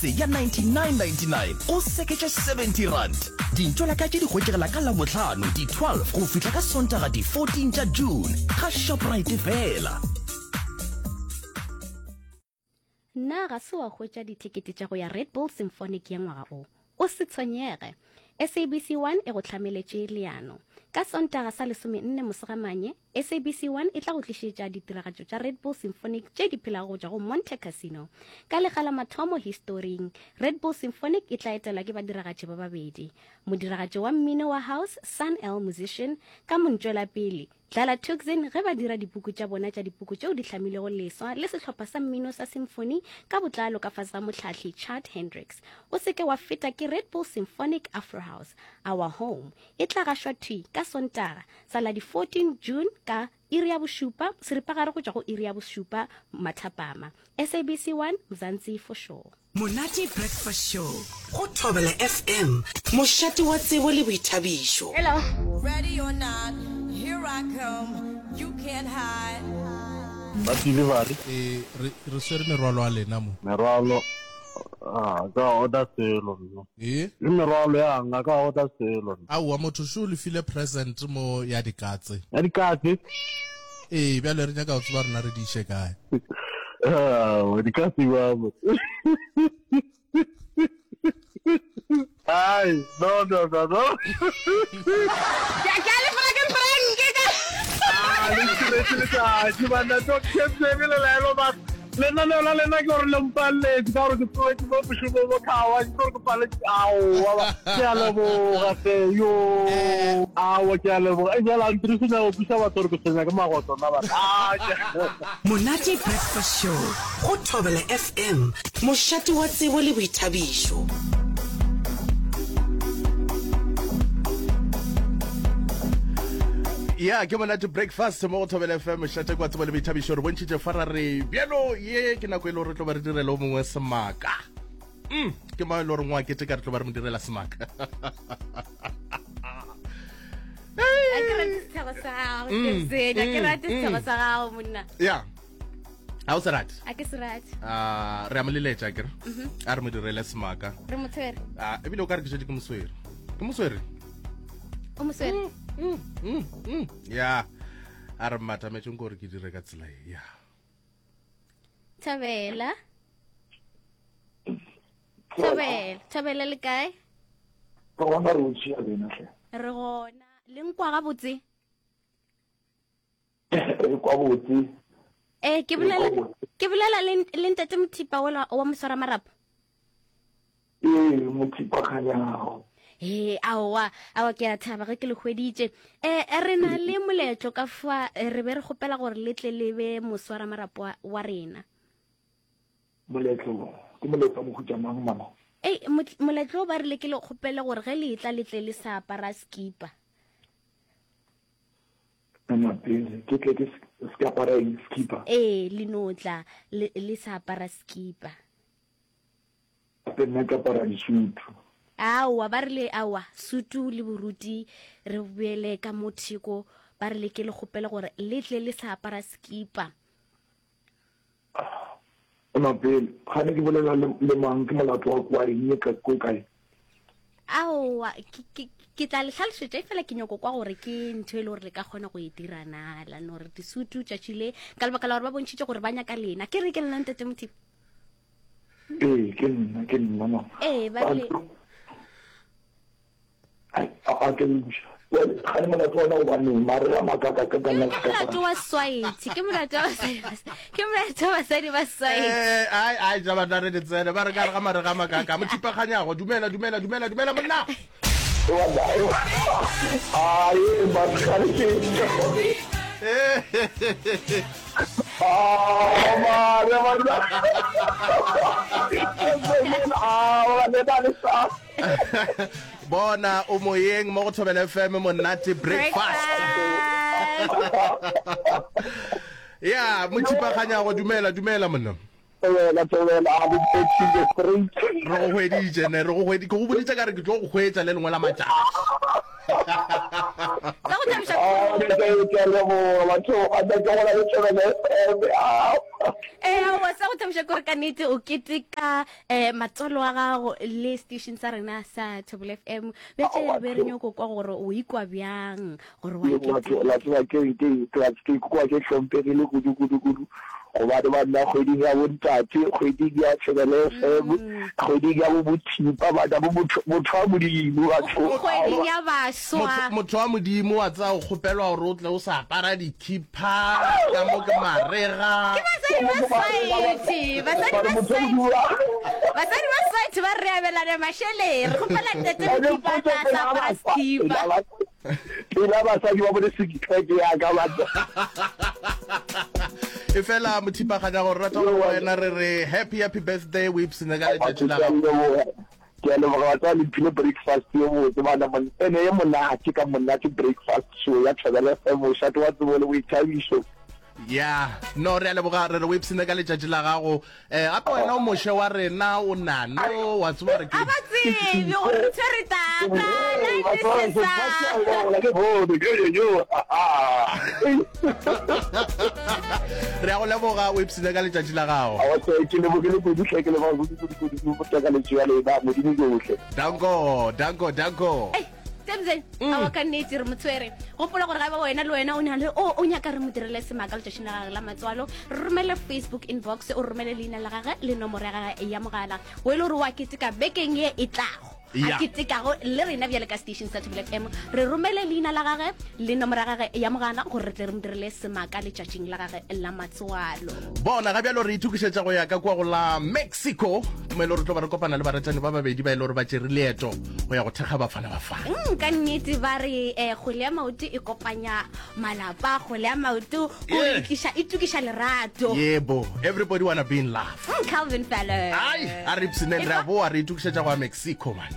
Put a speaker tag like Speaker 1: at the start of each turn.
Speaker 1: Ya 99.99 o seketše R70. Dintšolaka tše di hwetšegela ka Labohlano di 12 go fihla ka Sontaga di 14 tša June ga Shoprite fela.
Speaker 2: Na ga se wa hwetša dithekete tša go ya Red Bull Symphonic ya ngwaga o? O se tshwenyege! SABC 1 e go hlameletše leano. Ka Sontaga sa lesomenne Mosegamanye, SABC 1 e tla go tlišetša ditiragatšo tša Red Bull Symphonic tše di phelago go tšwa go Monte Cassino. Ka lekga la mathomo historing, Red Bull Symphonic e tla etelwa ke badiragatši ba babedi, modiragatši wa mmino wa house Sun El Musician ka montšwelapele Dlala Tuxin ge ba dira dipuku tša bona tša dipuku tšeo di hlamilego leswa le sehlopha sa mmino sa symphony ka botlalo ka fase ga mohlahli Chad Hendricks. O se ke wa feta ke Red Bull Symphonic Afro House, Our Home e tla gašwa thwi ka Sontaga sa la di 14 June ka iri ya bošupa seripagare go tšwa go iri ya bošupa mathapama. SABC 1, Mzansi for sure.
Speaker 3: Monate Breakfast Show go Thobela FM, mošate wa tsebo le boithabišo.
Speaker 2: Hello.
Speaker 4: Ready or not, here I come, you can't hide.
Speaker 5: Ba delivery.
Speaker 6: Ee, re, re swere merwalo a lena mo.
Speaker 5: Merwalo, a ka order selo nna.
Speaker 6: Ee?
Speaker 5: Ke merwalo ya nga ka order selo nna.
Speaker 6: Aowa, motho šo o le file present mo ya dikatse.
Speaker 5: Ya dikatse?
Speaker 6: Ee, bjale re nyaka go tseba rena re di iše kae.
Speaker 5: Aowa, dikatse ba mo. Ai, no, no, no, no.
Speaker 2: Ke a le frank frank ka.
Speaker 5: Ah, le ntšhiretše letšatši banna to kepsene le laelo ba lenaneo la lena ke gore le mpaletse ka gore ke tsoetse mo mošomong mo khawa ke gore ke paletse aowa ke a leboga tle yo aowa ke a leboga e jala ntriso nyaka go kwisa batho gore ke tshwenya ke magoto nna batho ah,
Speaker 3: Monate Breakfast Show go Thobela FM, mošate wa tsebo le boithabišo.
Speaker 6: Ya ke monate breakfast mo go Thobela FM mošate kwa tsebo le boithabišo re bontšhitše fa ra re bjalo ye ke nako e le gore re tlo ba re direla o mongwe semaka mm, ke mang e le gore ngwa keteka re tlo ba re mo direla semaka
Speaker 2: A ke rate setshego sa gago, Kebzeni. A ke rate setshego sa gago, monna.
Speaker 6: ya ga o se rate
Speaker 2: A ke se rate.
Speaker 6: Ah, re a mo leletša kere a re mo direle semaka
Speaker 2: Re mo tshwere.
Speaker 6: Ah, ebile o ka re ke šetše ke moswere ke moswere
Speaker 2: O mo swere.
Speaker 6: Mm, mm, mm. ya a re mmatametseng gore ke dire ka tsela e ya
Speaker 2: Thabela. Thabela. Thabela le kae?
Speaker 7: Re gona re o tšea lena hle.
Speaker 2: Re gona. Le nkwa gabotse?
Speaker 7: Re kwa botse.
Speaker 2: Eh, ke bolela ke bolela le le ntate Mothipa wa wa moswara marapo.
Speaker 7: Ee, Mothipa Kganyago.
Speaker 2: He, aowa, aowa ke a thaba ge ke le hweditše. Eh, re na le moletlo ka fa eh, re be re kgopela gore le tle le be moswara marapo wa, wa rena.
Speaker 7: Moletlo, ke moletlo wa mohuta mang mama?
Speaker 2: Ei, moletlo ba rile ke le kgopele gore ge le etla le tle le sa apara skipa.
Speaker 7: Mama pele ke tle ke se ke apara eng skipa?
Speaker 2: Ee, le no tla le, le sa apara skipa.
Speaker 7: Gape nna ke apara disutu.
Speaker 2: Aowa, ba rile aowa, sutu le boruti re boele ka mo theko, ba rile ke le kgopele gore le tle le sa apara skipa.
Speaker 7: Ema pele, kgane ke bolela le, le mang? Ke molato wa kwa eng ka ko kae?
Speaker 2: Aowa, ke, ke, ke tla le hlalošetša efela ke nyoko kwa gore ke ntho e le gore le ka kgona go e dira na, la no re disutu tšatši le, ka lebaka la gore ba bontšhitše gore ba nyaka lena. Ke re ke nna Ntate Mothiba?
Speaker 7: Ee, ke nna, ke nna mama.
Speaker 2: Ee, ba rile.
Speaker 7: A ke buša. Gane molato wa ona gobaneng mare a makaka ka
Speaker 2: ka nna ke molato wa swaethe ke molato wa basadi ke molato wa basadi ba swaethe
Speaker 6: eh ai ai ja batla re ditsene ba re ka re ga mare ga makaka mo thipaganyago dumela dumela dumela dumela monna
Speaker 7: ai ba gane ke ah mare monna ah le ba le sa
Speaker 6: Bona o moyeng mo go Thobela FM monate breakfast. Ya, mothipaganyago dumela dumela monna.
Speaker 7: Thobela thobela a le straight.
Speaker 6: Re go hweditše ne re go hweditše ke go boditše ka re ke tlo go hwetša le lengwe la matšatši.
Speaker 2: Sa go thabiša
Speaker 7: Ah,
Speaker 2: kudu.
Speaker 7: ke ke a leboga batho a ke go la le Thobela FM. Ah.
Speaker 2: Ee, aowa, sa go thabiša ke gore ka nnete o keteka um matswalo a gago le station sa rena sa Thobela FM. Bjale be re nyoko kwa gore o ikwa bjang gore wa
Speaker 7: Batho la tseba ke ke ke ke ikwa ke hlomphegile kudu kudu kudu gobane ba nna kgweding ya bontate, kgweding ya Thobela FM, kgweding ya bo bothipa bana bo motho motho wa Modimo batho.
Speaker 2: Kgweding ya baswa.
Speaker 6: Motho, motho wa Modimo wa tsaya o kgopelwa gore o tle o sa apara dikhipha ka mo ke marega.
Speaker 2: Ke basadi ba swaethe, basadi ba swaethe, basadi ba swaethe ba re abelana mašeleng. Re kgopela ntate Mothipa a tla a sa apara sekhipa.
Speaker 7: Pela basadi ba bone six-pack ya ka batho.
Speaker 6: E fela Mothipaganya gore rata gore wena re re happy happy birthday o ipsene ka letšatši la gago.
Speaker 7: Ke a leboga batho ba le mphile breakfast ye botse bana mon ene ye monate ka monate breakfast show ya Thobela FM mošate wa tsebo le boithabišo.
Speaker 6: Ya no re a leboga re re o ipsene ka letšatši la gago um gape wena o moshe wa rena o nano wa tseba gore ke
Speaker 2: A ba tsebe gore re tshwere tata
Speaker 6: re a go leboga o ipsene ka letšatši la gago.
Speaker 7: Ke lebogile kudu hle ke leboga kudu kudu kudu kudu takaletšo ya lena modimo johle.
Speaker 6: Danko danko danko.
Speaker 2: Tebze, mm. awa ka nnete re mo tshwere gopola gore ga ba wena le wena o na le o o nyaka re mo direle semaka letšatšing la gage la matswalo re romele facebook inbox o romele leina la gage le nomoro ya gage ya mogala o e le gore wa keteka bekeng ye e tlago a ketekago le rena bjale ka station sa Thobela FM re romele leina la gage le nomoro ya gage ya mogala gore re tle re mo direle semaka letšatšing la gage la matswalo
Speaker 6: bona ga bjalo re itokišetša go ya ka kua go la mexico mo e le gore tlo ba re kopana le baratani ba babedi ba e le gore ba tšere leeto go ya go thekga Bafana Bafana.
Speaker 2: Mm, ka nnete ba re eh, kgwele ya maoto e kopanya malapa, kgwele ya maoto o
Speaker 6: Yeah.
Speaker 2: e tliša e tukiša lerato.
Speaker 6: Yebo, everybody wanna be in love.
Speaker 2: Mm, Calvin Fellow.
Speaker 6: Ai, a re ipshineng re a boa re itokišetša go ya Mexico man.